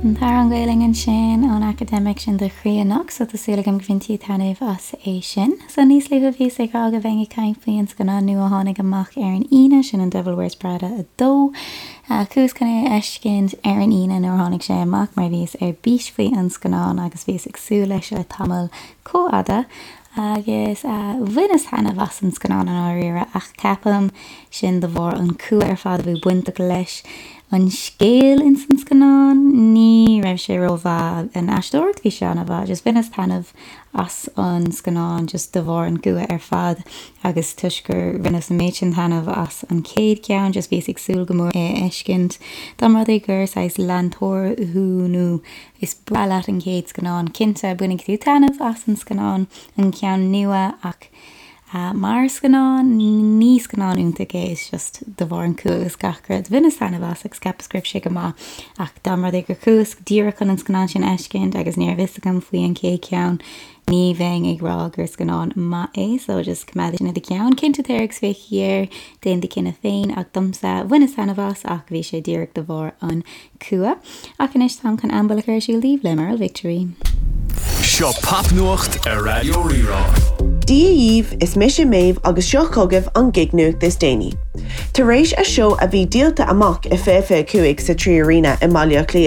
An t-amhrán Gaelainn ansin ón Academic sin do chroí anocht so tá súil agam go bhain tú taitneamh as é sin. So níos luaithe bhíos ag rá go bheinn ag caint faoi an scannán nua a tháinig amach ar an Aoine, sin an Devil Wears Prada 2. Chuas chun é a fheiscint ar an Aoine nuair a tháinig sé amach mar bhíos ar bís faoi an scannán agus bhíos ag súil leis le tamall chomh fhada agus bhaineas taitneamh as an scannán i ndáiríre ach ceapaim sin de bharr an cumha ar fad a bhí bainteach leis an scéal ins an scannán ní raibh sé rómhaith an aisteoireacht bhí sé an-mhaith just bhaineas taitneamh as an scannán just de bharr an cumha ar fad agus toisc gur bhaineas an méid sin taitneamh as an chéad ceann just bhíos ag súil go mór é a fheiscint dá mba rud é gur saghas leantóir thú nó Is breá leat an chéad scannán, cinnte, bainfidh tú taitneamh as an scannán, an ceann nua, ach mar scannán, ní scannán iontach é, it's just de bharr an cumha agus gach rud. Bhaineas taitneamh as agus cheapas go raibh sé go maith, ach dá mba rud é gur chuas díreach chun an scannán sin a fheiscint agus ní raibh fhios agam faoi an chéad cheann, ní bheinn ag rá gur scannán maith é, so just coimeád sin i do cheann. Cinnte téir agus féach air, déan do chinneadh féin, ach domsa, bhaineas taitneamh as ach bhí sé díreach de bharr an cumha. Ach anois táim chun Am Buile a chur ar siúl daoibh le Merle Victory. Seo Popnuacht ar Raidió Rí-Rá. Dia dhaoibh, is mise Méabh agus seo chugaibh an gig-nuacht is déanaí. Tar éis a seó a bhí díolta amach i 2025 sa 3Arena i mBaile Átha Cliath.